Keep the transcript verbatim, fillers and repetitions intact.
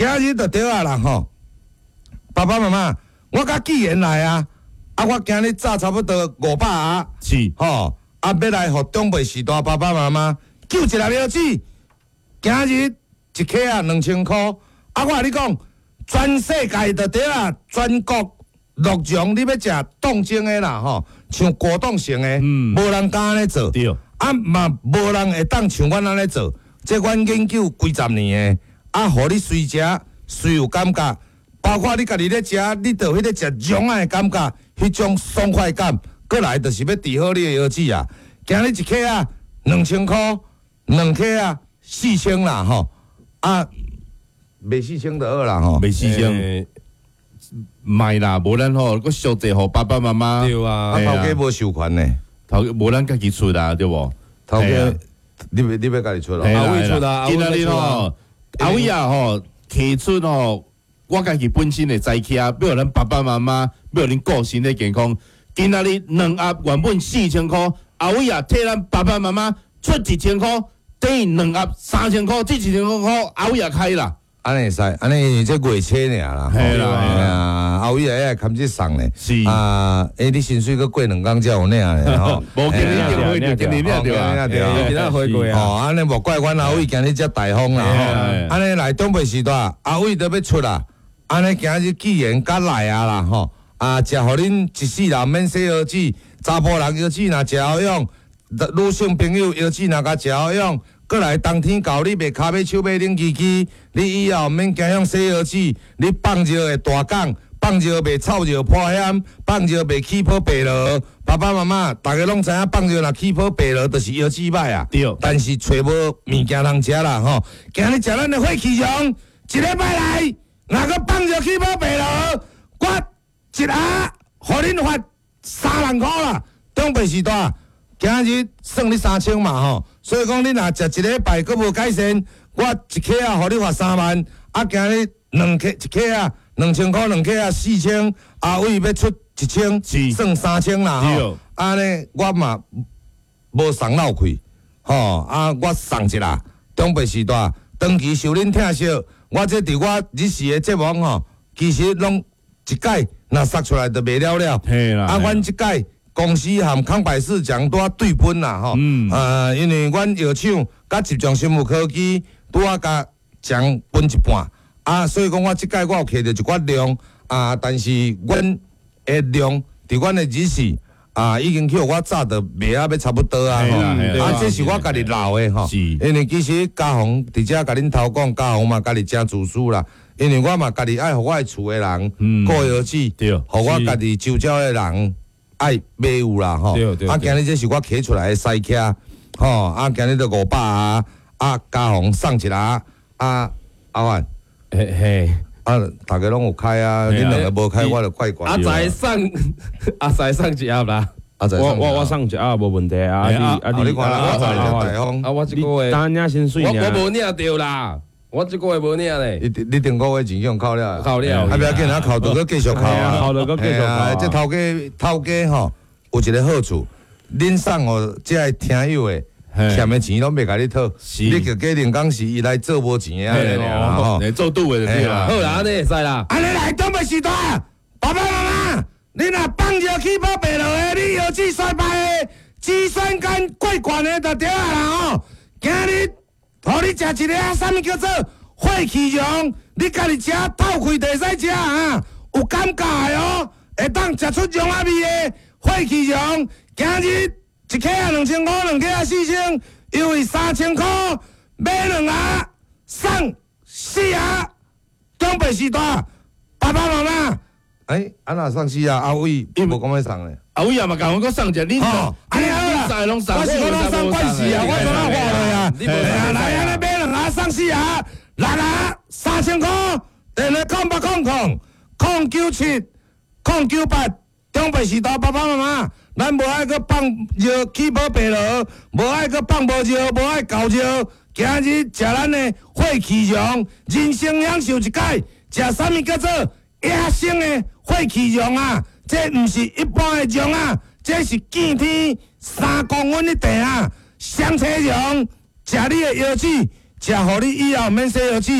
今日就對啊啦吼。爸爸媽媽，我佮寄言來啊，啊，我今日紮差不多五百盒，是，吼，啊，欲來予長輩序大爸爸媽媽救一粒腰子，今日一克啊兩千箍，啊，我共你講，全世界就對啊，全國鹿茸你欲食凍精的啦吼，像果凍型的，嗯無人敢按呢做。對，啊嘛無人會當像阮按呢做，這阮研究幾十年的，啊，予你隨食隨有感覺，包括你家己咧食，你就彼個食茸仔的感覺，彼種爽快感，過來就是欲治好你的腰子啊。今日一克啊兩千箍，兩克啊四千啦吼，啊，賣四千就好啦吼。袂四千，欸賣啦，無咱吼，閣俗濟予爸爸媽媽，對啊啊，頭家無授權呢，頭無咱家己出啊，對無？頭嘿啊家你欲你欲家己出咯？嘿啦阿偉出啊今仔日吼，阿偉啊吼，提出吼，我家己本身的知起啊，欲予咱爸爸媽媽，欲予恁顧身體健康。今仔日兩盒原本四千箍，阿偉啊替咱爸爸媽媽出一千箍，等於兩盒三千箍，這一千箍阿偉啊開啦。按呢會使，按呢因為這月初爾啦，嘿啦嘿啊，阿偉啊，會含這送咧，是啊，欸，你薪水閣過兩工才有領咧，吼，無今日就會，今日領著啊，對啊，今仔回過啊，哦，按呢莫怪阮阿偉今日遮大方啦，吼，按呢來長輩序大，阿偉都欲出啦，按呢今日既然較來啊啦，吼，啊，食予恁一世人免洗腰子，查埔人腰子若食好用，女性朋友腰子若共食好用。過來冬天到，你袂跤尾手尾冷吱吱，你以後免驚用洗腰子，你放尿會大講，放尿袂臭尿破險，放尿袂起泡白螺。爸爸媽媽，逐家攏知影放尿若起泡白螺，就是腰子歹啊。對。但是揣無物件通食啦吼。今日食咱的血氣茸，一禮拜來，若閣放尿起泡白螺，我一盒予恁發三萬箍啦。長輩序大。今日算你三千嘛吼，所以講你若食一禮拜閣無改善，我一克仔予你罰三萬，啊今日兩克一克仔兩千箍兩克仔四千，阿偉欲出一千，算三千啦吼。按呢我嘛無送落去，吼啊我送一啦，長輩序大，長期受恁疼惜，我這佇我日時的節目吼，其實攏一擺若殺出來就袂了了。啊，阮這擺。公司和康百氏獎拄仔對分啦吼，啊，因為阮藥廠佮集中生物科技拄仔共獎分一半，啊，所以講我這擺我有摕著一寡量，啊，但是阮的量佇阮的日時啊，已經去予我炸著賣啊欲差不多啊，吼，啊，這是我家己留的吼，因為其實家宏佇遮共恁頭講，家宏嘛家己誠自私啦，因為我嘛家己愛予我的厝的人顧腰子，予我家己周遭的人。愛買有啦吼，啊，今日這是我揢出來的西徛，吼，啊，今日都五百啊，啊，家宏送一下，啊，阿萬，嘿嘿，啊，逐家攏有開啊，恁兩个無開，我就怪怪。阿仔送，阿仔送一盒啦，阿仔，我我我送一盒無問題啊，啊你啊你看啦，阿仔大方，啊我這個月，當領薪水，我我無領著啦。我這個月無領咧，你你頂個月錢用扣了，扣了，啊不要緊，啊扣著閣繼續扣啊，扣著閣繼續扣。這頭家頭家吼有一個好處，恁送予這个聽友的欠的錢攏袂共你討，你就假定講是伊來做無錢的啊，吼，做賭的就對啦。好啦，按呢會使啦。按呢來，長輩序大，爸爸媽媽，你若放尿起泡白螺的，你腰子衰敗的，肌酸酐過懸的就對啊啦吼，今日。予你食一个啊，啥物叫做血氣茸？你家己食透氣就會使食啊，有感覺的哦，會當食出茸仔味的血氣茸。今日一克仔兩千箍，兩克仔四千，優惠三千箍，買兩盒送四盒，長輩序大，爸爸媽媽，欸，啊若送四盒，阿偉無講欲送咧。阿偉也嘛共阮閣送一個，你吼，按呢好啦，我是講攏送關係啊，我怎啊話落啊？來，按呢買兩盒送四盒，六盒三千箍，電話空八空空空九七空九八，長輩序大爸爸媽媽，咱無愛閣放尿起泡白螺，無愛閣放無尿，無愛搞尿。今日食咱的血氣茸，人生享受一擺，食啥物叫做野生的血氣茸啊？這毋是一般的茸啊，這是見天三公分的地啊，雙車茸，食你的腰子，食予你以後免洗腰子。